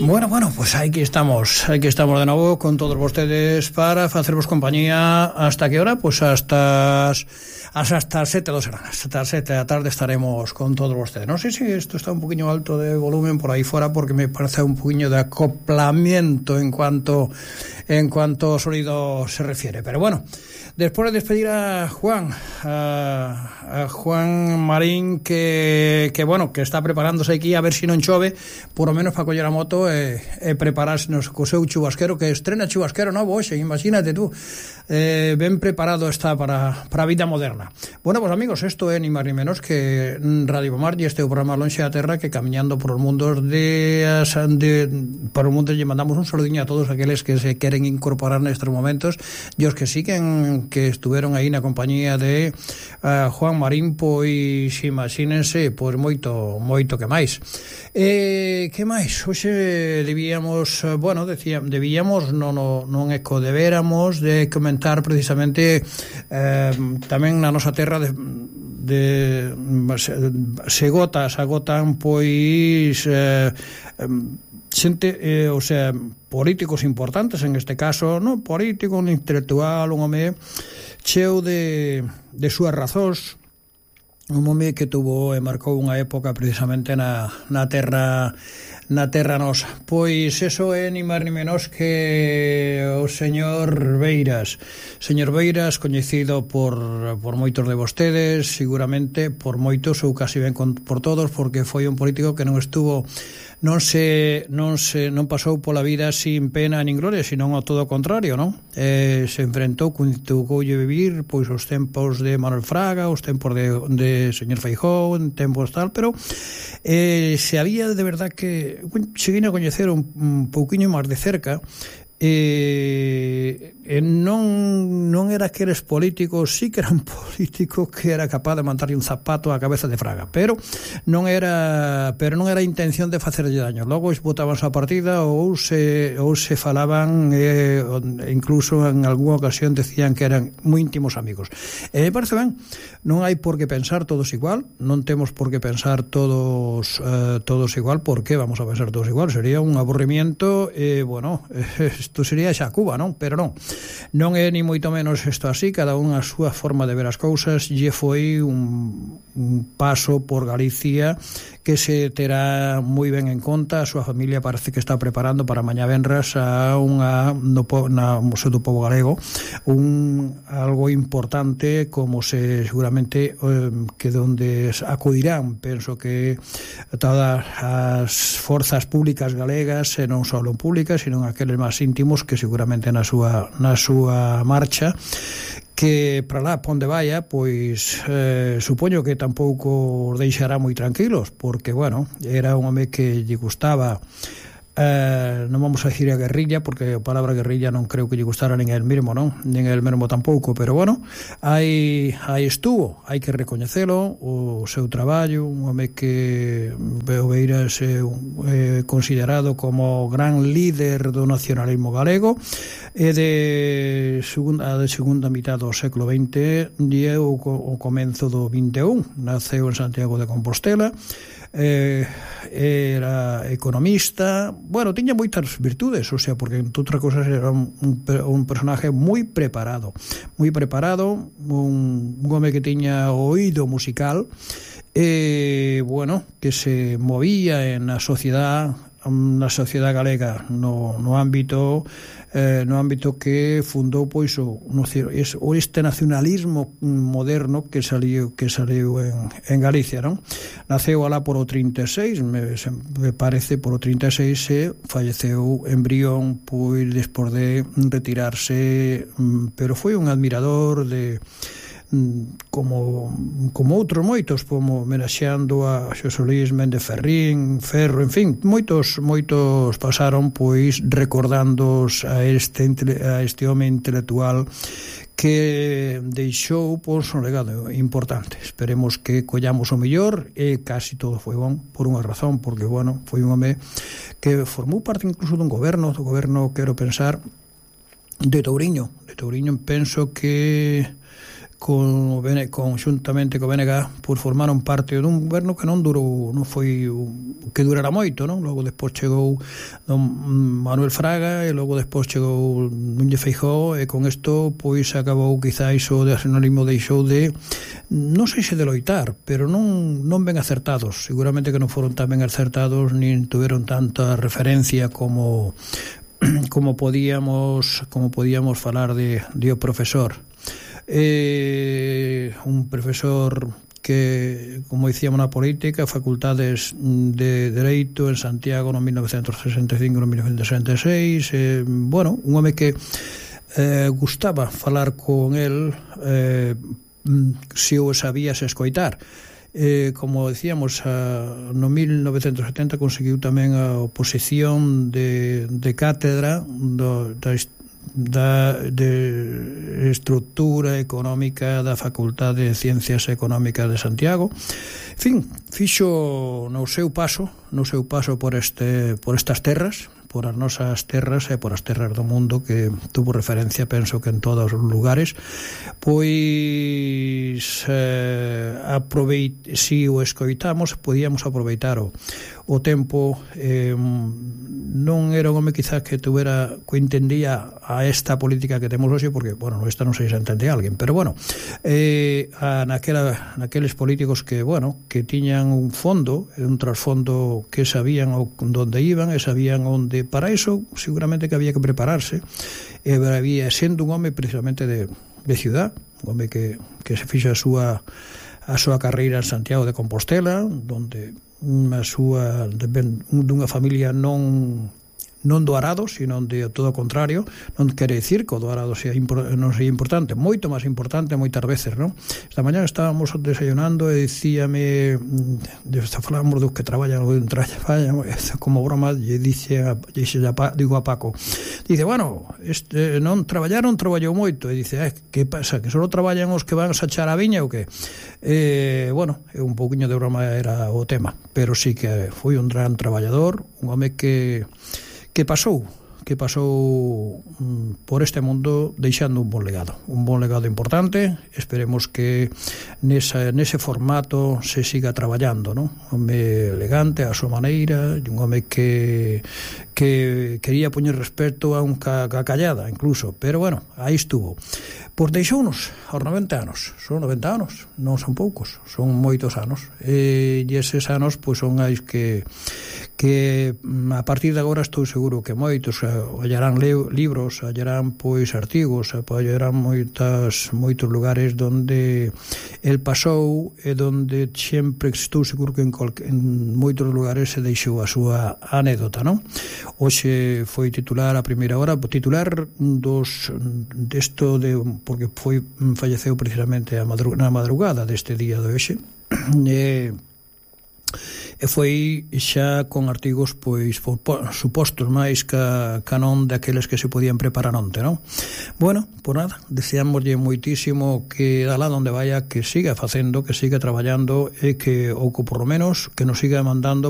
Bueno, pues aquí estamos de novo con todos vostedes para facervos compañía. Hasta que hora? Pues hasta as 7 do serán. Hasta as 7 da tarde estaremos con todos vostedes. Non sei se isto está un poquinho alto de volumen por aí fora, porque me parece un poquinho de acoplamiento en cuanto sonido se refiere. Pero bueno, después de despedir a Juan Marín, que está preparándose aquí a ver si non chove, por lo menos para coller a moto e prepararse co seu chubasquero, que estrena chubasquero novo hoxe, imagínate tú. Ben preparado está para a vida moderna. Bueno, pues amigos, esto é ni máis ni menos que Radio Pomar, e este é o programa Lonxe da Terra, que camiñando por os mundos por os mundos lle mandamos un saludiño a todos aqueles que se queren incorporar nestes momentos, e os que siguen, que estuveron aí na compañía de Juan Marín, pois imagínense, pois moito que máis. Que máis? Hoxe debíamos, non é co deberamos de comentar precisamente tamén na nosa terra se agotan pois xente, políticos importantes, en este caso, non político, un intelectual, un home cheo de súas razóns, un home que tuvo e marcou unha época precisamente na terra nosa. Pois eso é ni máis ni menos que o señor Beiras, coñecido por moitos de vostedes, seguramente por moitos ou casi ben por todos, porque foi un político que non pasou pola vida sin pena nin gloria, sino ao todo o contrario, non? Se enfrentou, tocoulle vivir pois os tempos de Manuel Fraga, os tempos de señor Feijóo, en tempos tal, pero se había de verdad que seguir a coñecer un pouquiño máis de cerca, non era aqueles políticos, sí que eran políticos que era capaz de mandarlle un zapato á cabeza de Fraga, pero non era a intención de facerlle daño. Logo botábanse a partida ou se falaban, incluso en algunha ocasión decían que eran moi íntimos amigos. Me parece ben, non hai por que pensar todos igual, non temos por que pensar todos igual, porque vamos a pensar todos igual, sería un aburrimiento, isto sería xa Cuba, non? Pero non é ni moito menos isto así, cada un a súa forma de ver as cousas, e foi un paso por Galicia que se terá moi ben en conta. A súa familia parece que está preparando para mañá venras no Museo do Pobo Galego algo importante, como seguramente que donde acudirán, penso que todas as forzas públicas galegas, e non só públicas, sino aqueles máis íntimos, que seguramente na súa marcha, que para lá onde vaya, pois supoño que tampouco os deixará moi tranquilos, porque, era un home que lle gustaba, non vamos a dicir a guerrilla, porque a palabra guerrilla non creo que lle gustara nin el mesmo, non? Nin el mesmo tampouco, pero aí estuvo, hai que recoñecelo, o seu traballo, un home que Beiras é considerado como gran líder do nacionalismo galego, e de segunda mitad do século XX e o comenzo do XXI. Naceu en Santiago de Compostela, era economista, tiña moitas virtudes, porque entre outras cosas era un personaje moi preparado, un home que tiña oído musical, que se movía na sociedade galega no ámbito que fundou pois este nacionalismo moderno que saliu en Galicia, non? Naceu alá por o 36, me parece por o 36, e falleceu en Brión pois despois de retirarse, pero foi un admirador de como outros moitos, como homenaxeando a Xosé Luis Méndez Ferro, en fin, moitos pasaron pois recordando a este home intelectual que deixou pois un legado importante. Esperemos que collamos o mellor, e casi todo foi bon por unha razón, porque foi un home que formou parte incluso do goberno, quero pensar, de Touriño. Penso que conxuntamente co BNG, pois formaron parte dun goberno que non foi que durara moito, non? Logo despois chegou don Manuel Fraga e logo despois chegou Núñez Feijóo, e con isto pois acabou quizás o nacionalismo deixou de, non sei se de loitar, pero non ben acertados, seguramente que non foron tan ben acertados, nin tuveron tanta referencia como podíamos falar de o profesor. Un profesor que, como dicíamos na política, facultades de Dereito en Santiago no 1965 no 1966, un home que gustaba falar con el, se o sabías escoitar. Como decíamos, no 1970 conseguiu tamén a oposición de cátedra de estructura económica da Facultade de Ciencias Económicas de Santiago. En fin, fixo no seu paso por estas terras, por as nosas terras e por as terras do mundo, que tuvo referencia, penso que en todos os lugares, pois si o escoitamos, podíamos aproveitar o tempo. Non era un home quizás que entendía a esta política que temos hoxe, porque, esta non sei se entende alguén, pero naqueles políticos que tiñan un fondo, un trasfondo, que sabían onde iban e sabían onde. Para eso seguramente que había que prepararse, e había, sendo un home precisamente de ciudad, un home que se fixo a súa carreira en Santiago de Compostela, donde dunha familia non do Arado, sino de todo o contrario. Non quere dicir que o do Arado non sea importante, moito máis importante moitas veces, non? Esta mañá estábamos desayunando e dicíame, falamos dos que traballan como broma, digo a Paco, dice, non traballou moito, e dice, que pasa, que só traballan os que van a sachar a viña ou que? Un pouquiño de broma era o tema, pero sí que foi un gran traballador, un home que pasou por este mundo deixando un bon legado importante. Esperemos que nese formato se siga traballando, non? Un home elegante a súa maneira, un home que quería poñer respeto a un callada incluso, pero aí estuvo. Pois deixounos aos 90 anos. Son 90 anos, non son poucos, son moitos anos, e eses anos pois son ais que a partir de agora estou seguro que moitos hallarán libros, hallarán pois artigos, hallarán moitos lugares donde el pasou, e donde sempre estou seguro que en moitos lugares se deixou a súa anécdota, non? Hoxe foi titular a primeira hora, porque falleceu precisamente na madrugada deste día de hoxe, e foi xa con artigos pois supostos máis ca non daqueles que se podían preparar onte, non? Por nada, deseámoslle moitísimo que alá onde vaya, que siga facendo, que siga traballando, e que, ou por lo menos, que nos siga mandando